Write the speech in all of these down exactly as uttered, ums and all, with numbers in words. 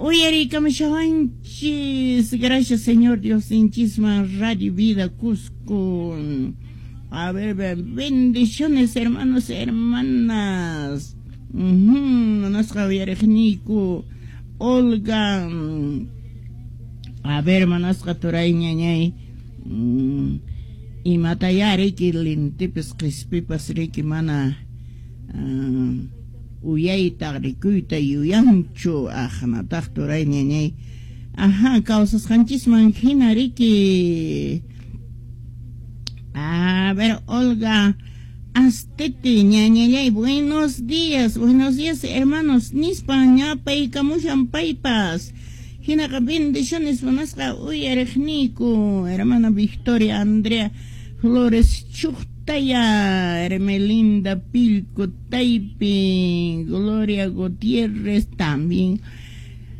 Uyariykamushawanchis. Gracias, Señor Diosninchisman, Radio Vida Cusco. A ver, bendiciones, hermanos, hermanas. Munasqa uyariqniyku Olga. A ver, munasqa turay ñañay. Imataya riki lintipis qispipas riki mana uyayta rikuyta yuyanchu aqnataq turay ñañay. Ajá, kawsasqanchisman hina riki. A ver, Olga Astete, ñañallay, buenos días, buenos días, hermanos. Nispa ñapaykamushan paypas. Hinaqa bendiciones munasqa uyariqniyku, hermana Victoria Andrea Flores Chuqtaya, Hermelinda Pilco Taypi, Gloria Gutiérrez también.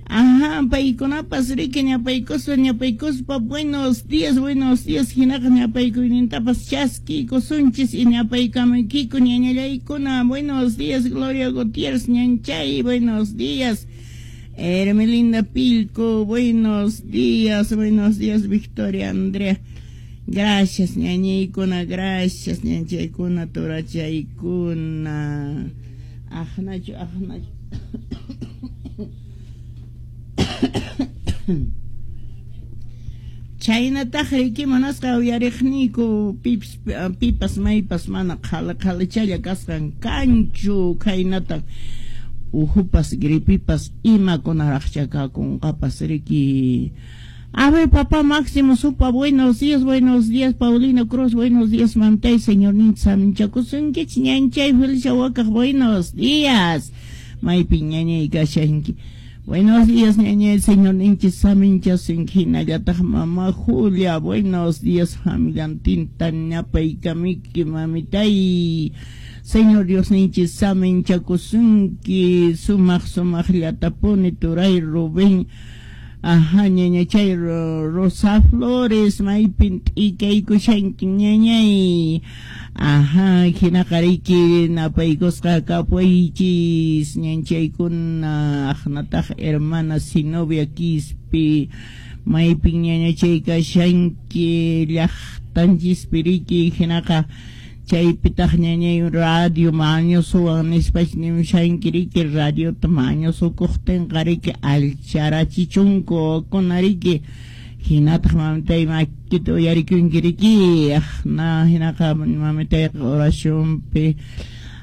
Ajá, paykunapas riki ñapaykuspa ñapaykuspa buenos días, buenos días, hinaqa ñapaykuynintapas chaskiykusunchis y ñapaykamaykiku ñañallaykuna. Buenos días, Gloria Gutiérrez ñanchay, buenos días. Hermelinda Pilco, buenos días, buenos días, Victoria Andrea. Gracias, ñañaykuna, gracias, ñanchaykuna, turachaykuna. Aqnachu, aqnachu. Chaynataq riki munasqa uyariqniyku pipas, pipas maypas mana qhala qhalachalla kasqan kanchu khaynataq uhupas gripipas imakunaraqcha kakunqapas riki. A ver, papá Máximo Supa, buenos días, buenos días, Paulino Cruz, buenos días, mamtay, señor Nintzamchakusunkichik, ñanchay, Felicia Wakaq, buenos días. Maypi ñañay kashanki. Buenos días, ñañay, señor Ninchis saminchasunki, hinallataq mamá Julia, buenos días, familiantinta ñapaykamiki, mamitay. Señor Dios ninchis saminchakusunki, sumaq sumaqllatapuni turay Rubén. Ajá, ñañachay Rosa Flores, maypin t'ikaykushanki ñañay. Ajá, hinaqa riki napaykusqa kapuychis ñanchaykuna aqnataq hermana Sinovia Quispe, maypin ñañachay kashanki llaqtanchispi riki hinaqa chaypitaq ñañay radio mañusuwan nispach nimushanki riki radiota mañusukuqtinqa riki alcharachichunku kuna riki hinataq mamitay makita uyarikunki riki aqna hinaqa mamitayqa oracionpi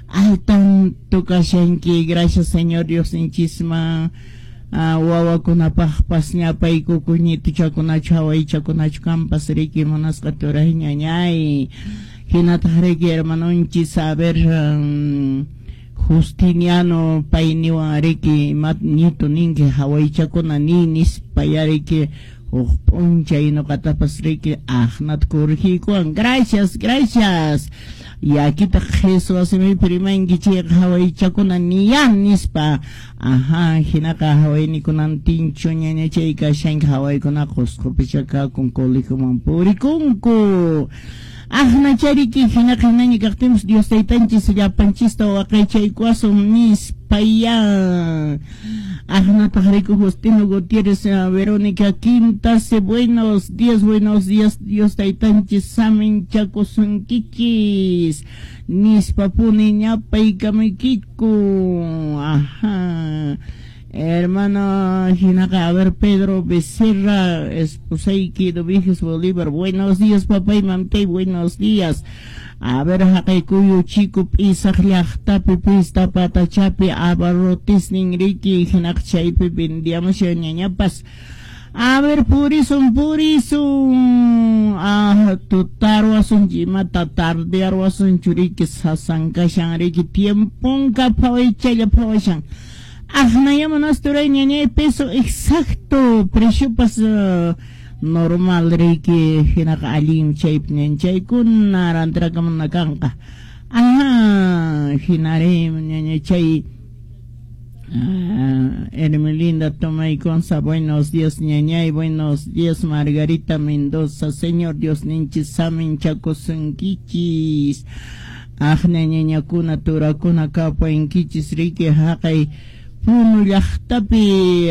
al tanto kashanki. Gracias, Señor Dios ninchisman. Wawakunapaqpas ñapaykuku ñituchakunachu hawaychakunachu kanpas riki munasqa turay ñañay. Hinataq riki hermanonchis, a ver, um, Justiniano payniwan riki imat ñitu ninki hawaychakuna ni nispaya riki huk p'unchay ñuqatapas riki aqnata corregiykuwan. Gracias, gracias. Yakitaq qhiswa simipi rimanki chayqa hawaychakuna niyan nispa. Ajá, hinaqa hawaynikunantinchu ñañachay kashanki hawaykunaqa Qusqupicha kakun colegioman purikunku. Aqnachariki hinaqa hinaña kaqtinpas Dios taytanchis llapanchista waqaychaykuwasun nispaya. Aqnataq riku Justino Gutiérrez, Verónica Quintase, buenos días, buenos días, Dios taytanchis saminchakusunkichis nispapuni ñapaykamaykiku. Ajá. Hermano hinaqa, a ver, Pedro Becerra, esposayki Dominguez Bolívar, buenos días, papá y mamtay, buenos días. A ver, haqaykuyu chico p'isaq llaqtapi pista patachapi abarrotisnin riki hinaqa chaypi vendiamushan ñañapas. A ver, purisun, purisun. Ah, tutarwasun, imata tardearwasun churiki sasan kashan riki tiemponka phawaychalla phawashan. Aqnayama nasturay ñañay peso exacto, preciopas uh, normal riki hinaqa allin chaypi ñanchaykuna rantirakamunna kanqa. Ajá, hinari ñañachay. Ah, Hermelinda Tomayconza, buenos días ñañay, buenos días Margarita Mendoza, Señor Dios ninchis saminchakusunkichis. Aqna ñañakuna turakuna kapuankichis riki haqay Puno llaqtapi.